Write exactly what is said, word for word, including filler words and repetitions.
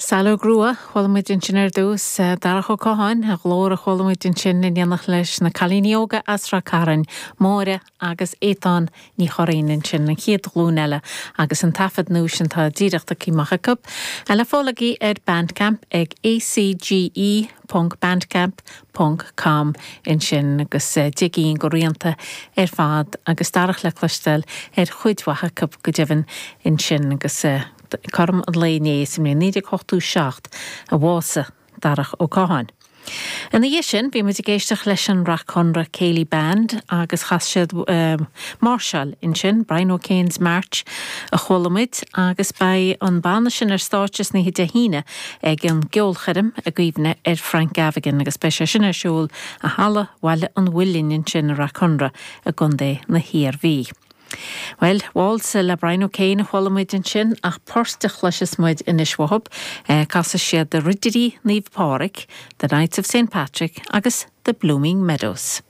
Saileog Rua chuala muid ansin ar dtús Darach Ó Catháin a ghlór a chuala muid ansin in éineacht leis na cailíní óga as Ráth Cairn, Máire agus Étáin Ní Churraoin ansin an chéad ghlúin eile agus an taifead nua sin tá díreach tagtha amach acu. Le fáil ar Bandcamp ag ACGE .bandcamp ponc com ansin agus digín go rianta ar fad agus Darach le cloisteáil ar chuid mhaith acu go deimhin ansin agus cothrom an lae inné sa mbliain naoi déag ochtó seacht a bhásaigh Darach Ó Catháin. Ina dhiaidh sin bhí muid ag éisteacht leis an Rath Conra Céilí Band agus chas siad um, máirseáil ansin Brian O'Kane's March a chuala muid agus beidh an banna sin ar stáitse san oíche Dé hAoine ag an gceolchoirm i gcuimhne ar Frank Gavigan agus beidh sé sin ar siúl i Halla Bhaile an Mhuilinn ansin i Rath Conra i gContae na hIarmhí. Well, Waltz le Brian O'Kane a chuala muid ansin ach port a chloisfeas muid anois uathub, eh, casfaidh siad de Ridirí Naomh Pádraig, The Knights of St Patrick agus The Blooming Meadows.